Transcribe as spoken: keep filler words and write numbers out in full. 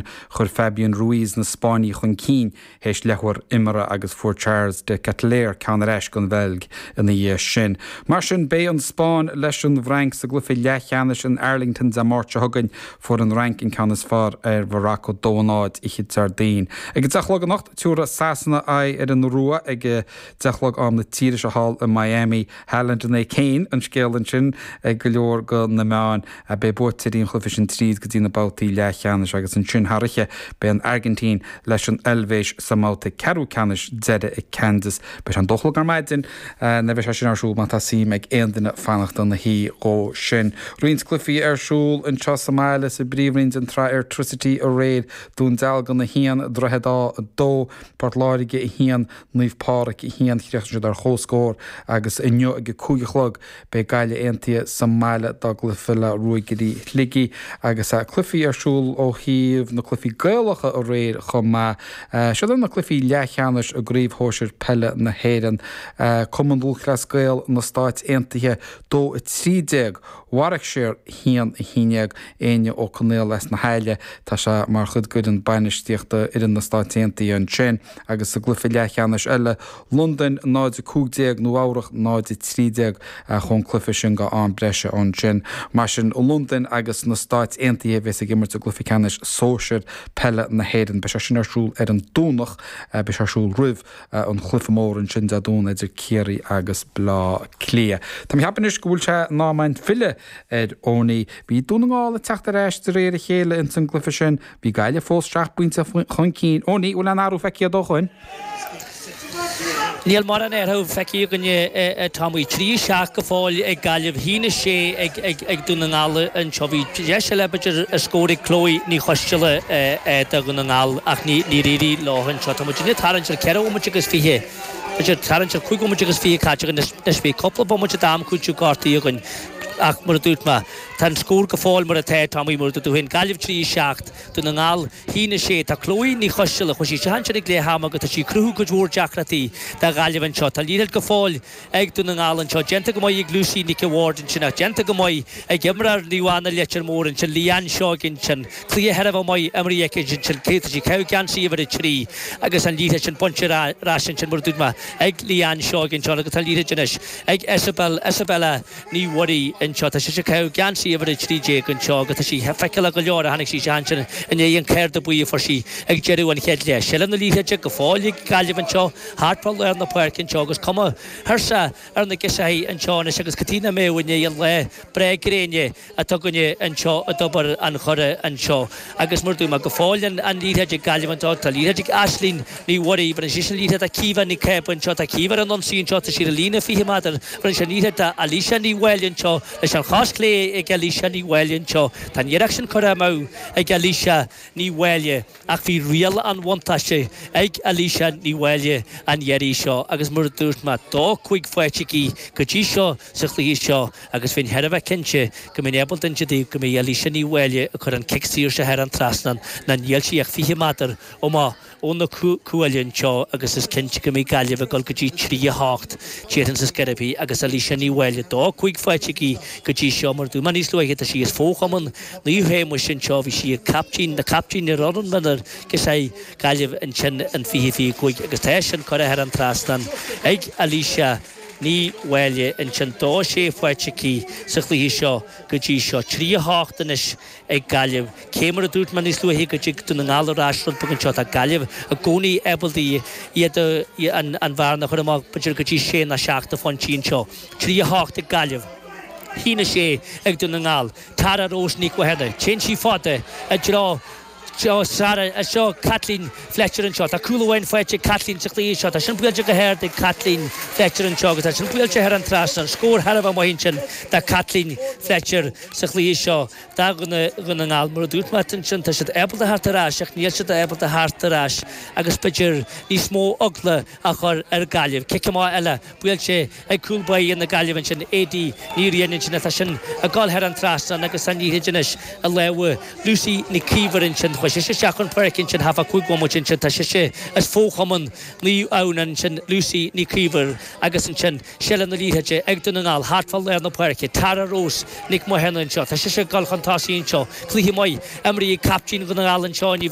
Chuir Fabian Ruiz na Spáinnigh chun cinn théis leathuair imeartha agus fuair Charles de Ketelaere ceann ar ais don Bheilg ina dhiaidh sin. Mar sin beidh an Spáinn leis an bhFrainc sa gcluiche leathcheannais in Arlington Dé Máirt seo chugainn fuair an Fhrainc an ceann is fearr ar Mharocco dó a náid oíche Déardaoin. Ag deich a chlog anocht tabharfaidh Sasana aghaidh ar an Iorua ag deich a chlog am na tíre seo thall i Miami Haaland nó Kane an scéal ansin ag go leor de na meáin a beidh buaiteoirí an chluiche sin tríd go dtí na babhtaí leathcheannais agus ansin thar oíche beidh an Airgintín leis an Eilvéis sa mbabhta ceathrú ceannais deiridh i Kansas. Beidh sé an dó a chlog ar maidin na bheidh sé sin ar siúl má tá suim ag aon duine fanacht ina shuí dhó sin. Roinnt cluichí ar siúl anseo sa mbaile sa bpríomhroinn den tsraith Airtricity aréir Dún Dealgan a haon Droichead Átha a dó Port Láirge a haon Naomh Pádraig a haon chríochnaigh siad ar chomhscór agus inniu ag a cúig a chlog beidh Gaillimh Aontaithe sa mbaile dá gcluiche le Ruagairí Shligigh agus cluichí ar siúl ó thaobh na cluichí Gaelacha aréir chomh maith. Siod na cluichí leathcheannais i gcraobh shóisir peile na hÉireann. Cumann Lúthchleas Gael na Stáit Aontaithe dó a trí déag, Warwickshire haon a haon déag Éinne Ó Conaola as na hAille tá sé mar chuid d'fhoireann bainistíochta fhoireann na Stáit Aontaithe ansin agus sa gcluiche leathcheannais eile Londain náid a cúig déag Nua-Eabhrac náid a trí déag chun cluiche sin go am breise ansin. Mar sin Londain agus na Stáit Aontaithe bheas ag imirt i gcluiche ceannais sóisir peile na hÉireann. Beidh sé sin ar siúl ar an Domhnach beidh sé ar siúl roimh an chluiche mór ansin Dé Domhnaigh idir Ciarraí agus Bleá Cliath. Tá mé ag ceapadh anois go bhfuil sé in am againn filleadh ar Owenie. Bhí Dún na nGall ag teacht ar ais de réir a chéile ins an gcluiche sin, bhí Gaillimh fós seacht bpointe chun cinn. Owenie, bhfuil aon athrú feicthe agat ó shoin? Níl mórán athrú feicthe againne a Tommy. Trí seacht go fóill ag Gaillimh, haon a sé ag ag ag Dún na nGall anseo. Bhí deis eile b'fhéidir a scór ag Chloe Ní Choisteala do Dhún na nGall ach ní níor éirigh leo anseo. Tá muid ag tarraingt ar ceithre bhomaite agus fiche, b'fhéidir tarraingt ar cúig bhomaite agus fiche caite againn anois. Bhí cúpla bomaite d'am cúiteamh gortaithe againn ach mar a dúirt mé, tá an scór go fóill mar atá, Tommy, mar a dúirt tú féin, Gaillimh trí seacht, Dún na nGall haon a sé. Tá Chloe Ní Choisteala, chuaigh sí isteach ansin ag leath ama agus tá sí ag cruthú cuid mhór deacrachtaí do Ghaillimh anseo. Tá liathróid go fóill ag Dún na nGall anseo. Déanta go maith ag Lucy Nic a' Bhaird ansin ach déanta go maith ag imreoir Naomh Anna Leitir Móir ansin, Leanne Seoige ansin. Cluiche thar a bheith maith imrithe aici ansin. Tá sí ag caitheamh geansaí uimhir a trí agus an liathróid sin bainte ar ais ansin mar a dúirt mé ag Leanne Seoige anseo agus tá an liathróid anois ag Isabel, Isabella Ní Mhuirí anseo. Tá sise ag caitheamh geansaí uimhir a trí déag anseo agus tá sí feiceálach go leor a tháinig sí isteach ansin i ndiaidh an cárta buí a fuair sí ag deireadh an chéad leath. Seilbh na liathróide go fóill ag Gaillimh anseo thart fá lár na páirce anseo agus cuma thuirseach ar na girseachaí anseo anois agus cad chuige nach mbeadh i ndiaidh an lá breá gréine atá againne anseo i dTobar an Choire anseo agus mar a dúirt mé go fóill an an liathróid ag Gaillimh anseo tá liathróid ag Aisling Ní Mhuirí bheireann sise an liathróid do Caoimhe Ní Cába anseo tá Caoimhe ar an ionsaí anseo tá sí ar an líne fiche méadar bheireann sí an liathróid do Alicia Ní Mháille anseo leis an chos chlé ag Alicia Ní Mháille anseo tá an iarracht sin curtha amú ag Alicia Ní Mháille ach bhí riail an bhuntáiste ag Alicia Ní Mháille an iarraidh seo agus mar a dúirt mé dó cúig faighte aici go dtí seo sa chluiche seo agus bheinn thar a bheith cinnte go mbeinn ábalta inse daoibh go mbeidh Alicia Ní Mháille ag cur an cic saor seo thar an trasnán ná níl sí ach fiche méadar amach ó na cuaille anseo agus is cinnte go mbeidh Gaillimh ag dul go dtí trí a hocht déarfainn sa scairbhí agus Alicia Ní Mháille dó cúig faighte aici go dtí seo mar a dúirt mé níos luaithe tá sí as fo-chumann Naomh Shéamuis anseo bhí sí ag captaen na captaen ar fhoireann mionúir girseachaí Gaillimh ansin in fiche fiche cúig agus tá sin curtha thar an trasnán ag Alicia Ní Mháille ansin dó sé faighte aici sa chluiche seo go dtí seo. Trí a hocht anois ag Gaillimh. Cé mar a dúirt mé níos luaithe go dtig Dún na nGall ar ais rud beag anseo tá Gaillimh i gcónaí ábalta iad an an bhearna a chur amach b'fhéidir go dtí sé nó seacht de phointí anseo. Trí a hocht ag Gaillimh. Haon a sé ag Dún na nGall. Tara Rose Nic Mhathúna. Téann sí fada i dtreo Seo Sarah, seo Kathleen Fletcher anseo. Tá cúl amháin faighte ag Kathleen sa chluiche seo. Tá sin buailte go hard ag Kathleen Fletcher anseo agus tá sin buailte thar an trasnán. Scór thar a bheith maith ansin do Kathleen Fletcher sa chluiche seo do Dhún na nGall. Mar a dúirt mé ansin, tá siad ábalta theacht ar ais ach níl siad ábalta theacht ar ais agus b'fhéidir níos mó eagla a chur ar Ghaillimh. Cic amach eile buailte ag cúl báire na Gaillimhe ansin, Aidí Ní Riain ansin atá sin ag dul thar an trasnán agus an liathróid anois i lámha Lucy Nic Íomhair ansin. Chuaigh sise isteach chun páirce ansin thart fá cúig bhomaite ansin tá sise as fo-chumann Naomh Adhamhnáin ansin Lucy Ní Chaoimh agus ansin seilbh na liathróide ag Dún na nGall thart fá lár na páirce Tara Rose Nic Mathúna anseo tá sise ag dul chun tosaigh anseo cluiche maith imrithe ag captaen Dhún na nGall anseo inniu